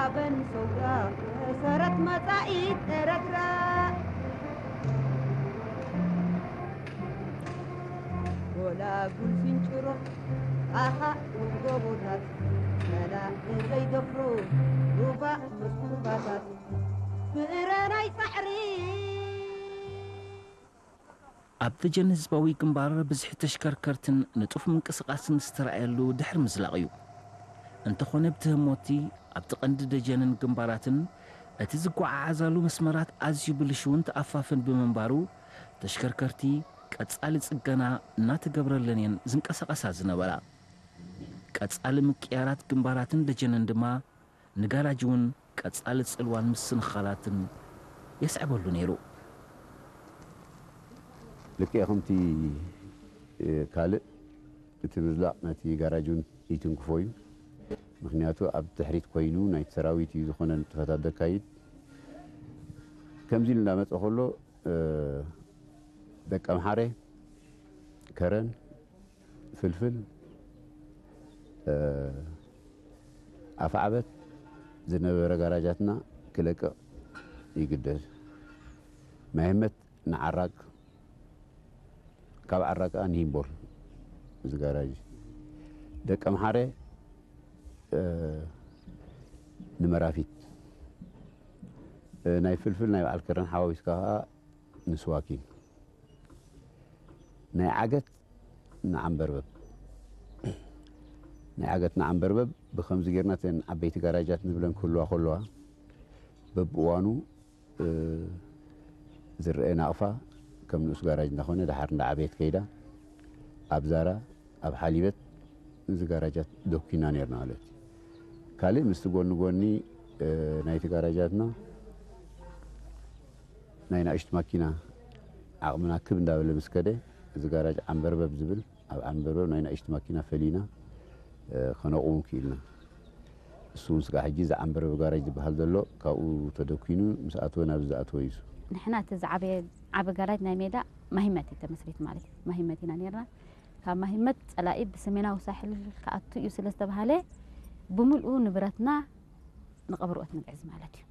ዓበን ሰውራ መሰረት መጻኢት ኤረትራ። ጎላጉል ስንጭሮ ኣኻ ጎቦታት ጸላኢ ዘይደፍሮ ሩባ መስኩባታት ፍረ ናይ ጻዕሪ። ኣብ ደጀን ህዝባዊ ግንባር ብዝሒ ተሽከርከርትን ንጡፍ ምንቅስቓስን ዝተራእየሉ ድሕሪ ምዝላቕ እዩ። እንተኾነ ብትህሞቲ ኣብቲ ቀንዲ ደጀንን ግንባራትን እቲ ዝጓዓዓዛሉ መስመራት ኣዝዩ ብልሽውን ተኣፋፍን ብምንባሩ ተሽከርከርቲ ቀጻሊ ጽገና እናተገብረለን እየን ዝንቀሳቐሳ ዝነበራ። ቀጻሊ ምቅያራት ግንባራትን ደጀንን ድማ ንጋራጅ እውን ቀጻሊ ጽልዋን ምስንኻላትን የስዕበሉ ነይሩ። ልክዕ ከምቲ ካልእ እቲ ምዝላቕ ነቲ ጋራጅ እውን ይትንክፎ እዩ። ምክንያቱ ኣብ ድሕሪት ኮይኑ ናይቲ ሰራዊት እዩ ዝኾነ ንጥፈታት ዘካይድ። ከምዚ ኢሉ እንዳመፀ ከሎ ደቂ ኣምሓረ፣ ከረን፣ ፍልፍል፣ ኣፍዓበት ዝነበረ ጋራጃትና ክለቅቕ ይግደድ። ማይ ህመት ንዓራግ፣ ካብ ዓራግ ከዓ ንሂምቦል እዚ ጋራጅ ደቂ ኣምሓረ ንመራፊት፣ ናይ ፍልፍል ናይ በዓል ከረን ሓዋዊስካ ከዓ ንስዋኪን፣ ናይ ዓገት ንዓንበርበብ፣ ናይ ዓገት ንዓንበርበብ ብኸምዚ ጌርና እተን ዓበይቲ ጋራጃት ንብለን ክህልዋ ከለዋ በብእዋኑ ዝረአ ናቕፋ ከም ንኡስ ጋራጅ እንዳኾነ ድሓር እንዳዓበየት ከይዳ ኣብ ዛራ ኣብ ሓሊበት እዚ ጋራጃት ደኩና ነርና ማለት እዩ። ካልእ ምስቲ ጎኒ ጎኒ ናይቲ ጋራጃትና ናይ ናእሽቱ ማኪና ዓቕምና ክብ እንዳበለ ምስ ከደ እዚ ጋራጅ ዓንበርበብ ዝብል ኣብ ዓንበርበብ ናይ ናእሽቱ ማኪና ፈሊና ከነቑም ክኢልና። እሱ እውን ስጋዕ ሕጂ እዚ ዓንበርበብ ጋራጅ ዝበሃል ዘሎ ካብኡ ተደኩኑ ምስ ኣተወ ናብዚ ዝኣተወ እዩ። ንሕና እቲ ዝዓበየ ዓቢ ጋራጅ ናይ ሜዳ ማሂመት እዩ ተመስሪት ማለት እዩ። ማሂመት ኢና ነርና። ካብ ማሂመት ጸላኢ ብሰሜናዊ ሳሕል ክኣቱ እዩ ስለ ዝተባሃለ ብምልኡ ንብረትና ንቐብርኦት ንግዕዝ ማለት እዩ።